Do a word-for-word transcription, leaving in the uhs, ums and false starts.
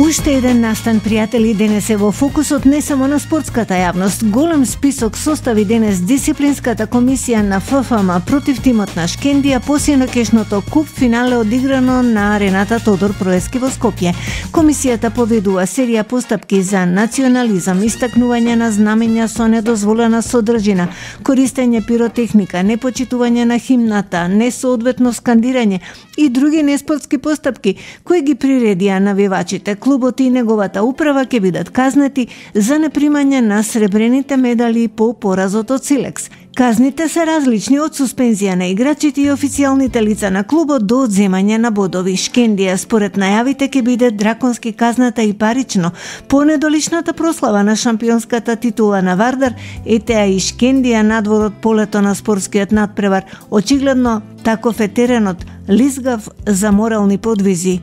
Уште еден настан, пријатели, денес е во фокусот не само на спортската јавност. Голем список состави денес дисциплинската комисија на Ф Ф М против тимот на Шкендија по синокешното куп финале одиграно на арената Тодор Проески во Скопје. Комисијата поведува серија постапки за национализам, истакнување на знамења со недозволена содржина, користење пиротехника, непочитување на химната, несоодветно скандирање и други неспортски постапки кои ги приредија навивачите. Клубот и неговата управа ќе бидат казнети за непримање на сребрените медали по поразот од Силекс. Казните се различни од суспензија на играчите и официјалните лица на клубот до одземање на бодови. Шкендија според најавите ќе биде драконски казната и парично. По недоличната прослава на шампионската титула на Вардар, ете и Шкендија надвор од полето на спортскиот надпревар. Очигледно таков е теренот, лизгав за морални подвизи.